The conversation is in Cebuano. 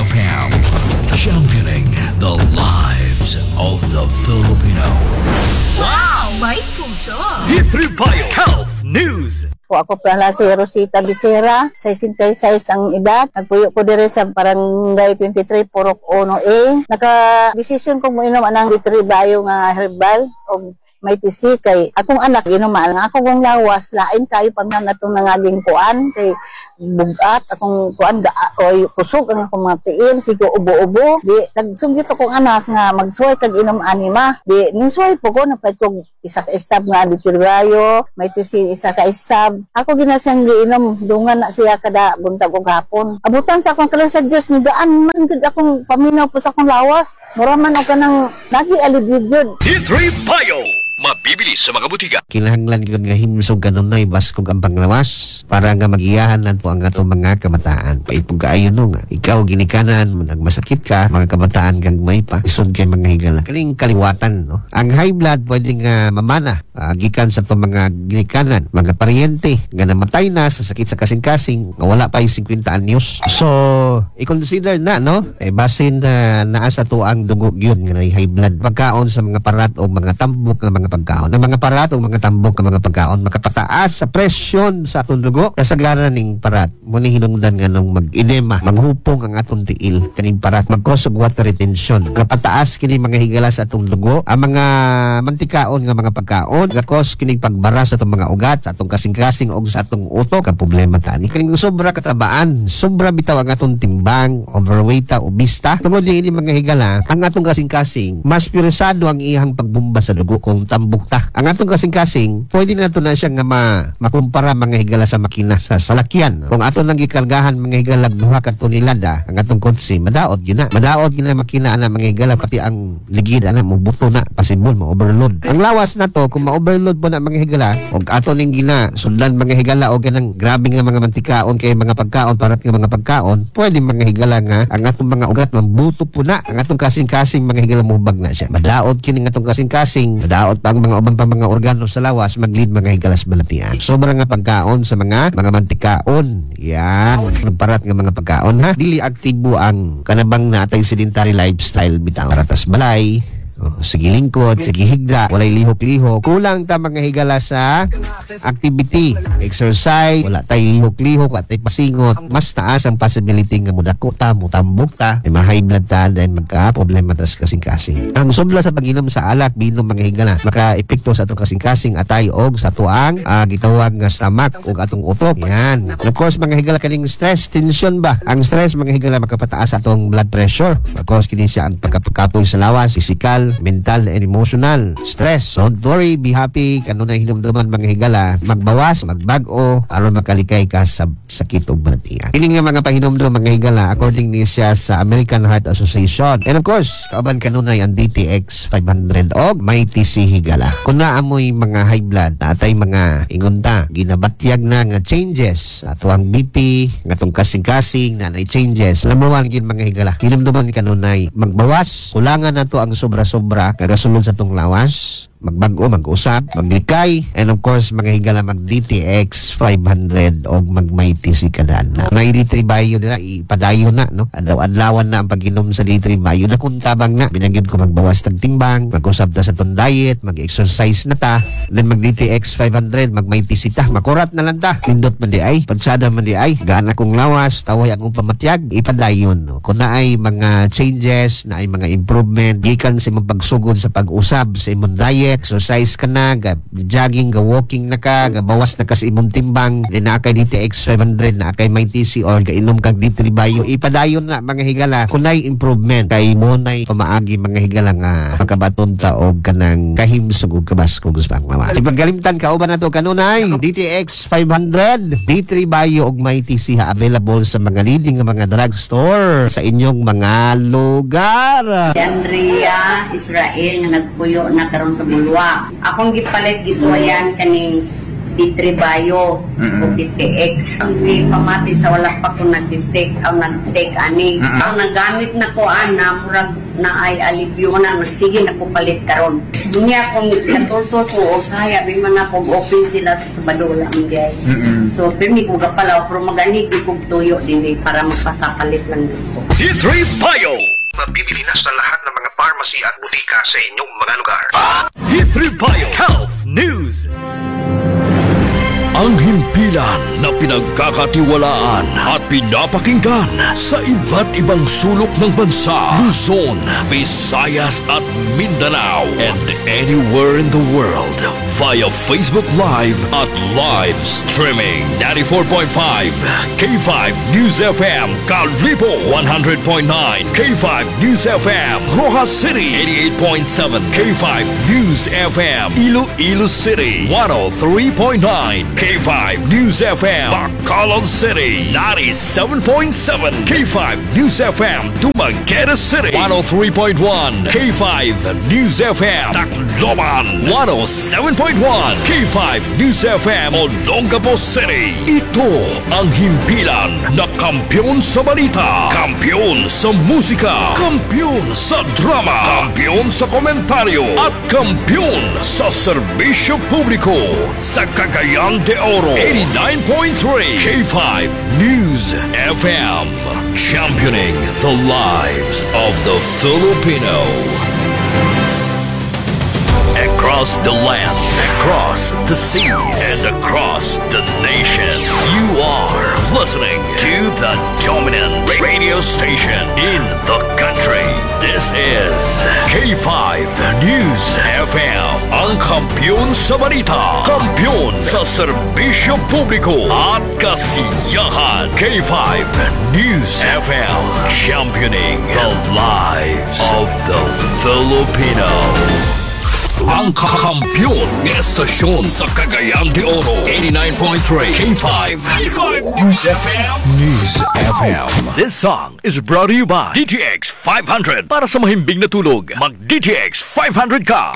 FM, championing the lives of the Filipino. Wow! May puso! D3 Bio Health News. Po ako pala si Rosita Becerra, 66 ang edad. Nagpuyo ko dire sa Barangay 23, Purok 1A. Naka-desisyon ko mo inom anang D3 Bio nga herbal og may tisi kay akong anak inuman ang ako kong lawas lain kayo pag na natong nangaging kuan kay bugat akong kuan ga oy kusog ang akong mga tiil, sige ubo-ubo. Di nagsugit akong anak nga magsuway kag inom anima. Di nisuway po ko, napalit ko isa ka stab nga ditirbayo may tisi, isa ka stab ako ginasang giinom, dungan na siya kada buntag ug hapon. Abutan sa akong kaluoy sa Dios, ni gaan man gud akong paminaw po sa akong lawas, mura man og kanang lagi alibid yun. D3 Bio. Mabibili sa mga butika. Kinahanglan gyud nga himsog kanunay baskog ang panglawas para nga magiyahan nato ang atong mga kabataan. Paipog kaayo no nga ikaw ginikanan nagmasakit ka, mga kabataan gagmay pa, isod kay mga higala. Kaning kaliwatan, no. Ang high blood pwede nga mamana gikan sa atong mga ginikanan, mga paryente nga namatay na sa sakit sa kasing-kasing nga wala pa yung 50 anyos. So, i-consider na, no? Eh basin na naa sa ato ang dugo gyud nga nay high blood. Pagkaon sa mga parat o mga tambok nga mga pagkaon. Ang mga parat o mga tambok nga mga pagkaon makapataas sa presyon sa atong dugo. Kasagaran ning parat mo ni hinungdan nga nung mag-edema, manghupong ang atong tiil kaning parat, mag-cause og water retention. Kapataas kini, mga higala, sa atong dugo. Ang mga mantikaon nga mga pagkaon gakos kini pagbara sa atong mga ugat, sa atong kasing-kasing og sa atong utok. Ang problema ta ni kaning sobra katabaan, sobra bitaw ang atong timbang, overweight ta, obese ta. Tungod niini, mga higala, ang atong kasing-kasing mas piresado ang iyang pagbumba sa dugo kung tambok ta. Ang atong kasing-kasing pwede na to na siya nga makumpara, mga higala, sa makina sa salakyan. Kung ato nang gikargahan, mga higala, 2 ka tonelada ang atong kotse, madaot gyud na. Madaot gyud na makina ana, mga higala, pati ang ligid ana mobuto na, possible ma-overload. Ang lawas na to kung ma-overload po na, mga higala, og ato ning gina sundan, mga higala, og kanang grabe nga mga mantikaon kay mga pagkaon, parat nga mga pagkaon, pwede, mga higala, nga ang atong mga ugat mambuto po na, ang atong kasing-kasing, mga higala, mubag na siya. Madaot kini nga atong kasing-kasing, madaot pa ang mga uban pa mga organo sa lawas, maglid, mga higala, sa balatian. Sobra nga pagkaon sa mga mantikaon. Yan. Parat nga mga pagkaon ha. Dili aktibo ang kanabang natay sedentary lifestyle bitaw. Paratas balay, oh, sige lingkod, sige higda, walay lihok-lihok. Kulang ta, mga higala, sa activity, exercise, wala tay lihok-lihok at tay pasingot. Mas taas ang possibility nga mudako ta, mutambok ta, ay ma-high blood ta, then magka problema ta sa kasing-kasing. Ang sobra sa pag-inom sa alak, bino, mga higala, maka-epekto sa atong kasing-kasing, atay og sa tuang gitawag nga stomach ug atong utok. Yan. And of course, mga higala, kaning stress, tension ba? Ang stress, mga higala, makapataas sa atong blood pressure. Of course, kini siya ang pagkakapoy sa lawas, physical, mental, and emotional. Stress. Don't worry, be happy. Kanunay hinumduman, mga higala, magbawas, magbag-o, aron makalikay ka sa sakit ug balatian. Kini nga mga pahinumdum, mga higala, according ni siya sa American Heart Association. And of course, kauban kanunay ang DTX 500 og may TC, higala. Kung naamoy mga high blood, natay mga ingunta, ginabatyag na nga changes ato ang BP, nga atong kasing-kasing na nay changes. Number one gin, mga higala, hinumduman kanunay magbawas, kulangan nato ang sobra-sobra kagasulod sa atong lawas, magbag-o, mag-usab, maglikay, and of course, mga higala, mag DTX 500 o mag may TC kada. May D3 Bio nila, ipadayon na, no? Adlaw-adlawan na ang pag-inom sa D3 Bio na kung tabang na. Binanggit ko magbawas tag timbang, mag-usab ta sa tong diet, mag-exercise na ta, then mag DTX 500, mag may TC ta, makurat na lang ta. Pindot man di ay, pansada man di ay, gaan akong lawas, taway akong pamatyag, ipadayon. No? Kung naay mga changes, naay mga improvement, gikan sa imong pagsugod sa pag-usab sa imong diet, exercise ka na, ga jogging, ga walking na ka, ga bawas na ka sa imong timbang, then naa kay DTX 500, naa kay may TC or ga inom kag D3 Bio, ipadayon na, mga higala, kunay improvement kay mo nay pamaagi, mga higala, nga makabaton ta og kanang kahimsog ug kabaskog sa panglawas. Di pagkalimtan, kauban na to kanunay DTX 500, D3 Bio ug may TC ha, available sa mga leading nga mga drugstore sa inyong mga lugar. Si Andrea Israel nga nagpuyo na karon sa Bulua. Akong gipalit gisuwayan kaning D3 Bio o DTX. Ang pamati sa wala pa ko nag-take ang nag-take ani. Ang nagamit na ko ana, murag na ay alibyo na, sige na ko palit karon. Niya kung natultol ko o saya, may man ako open sila sa Sabado lang diay. So pirmi ko gapalaw pero maganig ko tuyo din eh, para magpasapalit lang dito. D3 Bio. Mabibili na sa lahat ng mga pharmacy at butika sa inyong mga lugar. D3 Bio Health News. Ang himpilan na pinagkakatiwalaan at pinapakinggan sa iba't ibang sulok ng bansa, Luzon, Visayas at Mindanao, and anywhere in the world via Facebook Live at live streaming. 94.5 K5 News FM, Kalibo. 100.9 K5 News FM, Roxas City. 88.7 K5 News FM, Iloilo City. 103.9 K5 News FM, Bacolod City. 97.7 K5 News FM, Dumaguete City. 103.1 K5 News FM, Tacloban. 107.1 K5 News FM, Olongapo City. Ito ang himpilan na kampiyon sa balita, kampiyon sa musika, kampiyon sa drama, kampiyon sa komentaryo, at kampiyon sa serbisyo publiko. Sa Cagayan de Oro, 89.3 K5 News FM. Championing the lives of the Filipino. Across the land, across the seas, and across the nation, you are listening to the dominant radio station in the country. This is K5 News FM. Ang kampiyon sa balita, kampiyon sa serbisyo publiko at kasiyahan. K5 News FM. Championing the lives of the Filipino. Ang kakampiyon ng estasyon sa Cagayan de Oro. 89.3 K5. K5 News FM. News FM. This song is brought to you by DTX 500. Para sa mahimbing na tulog, mag DTX 500 ka.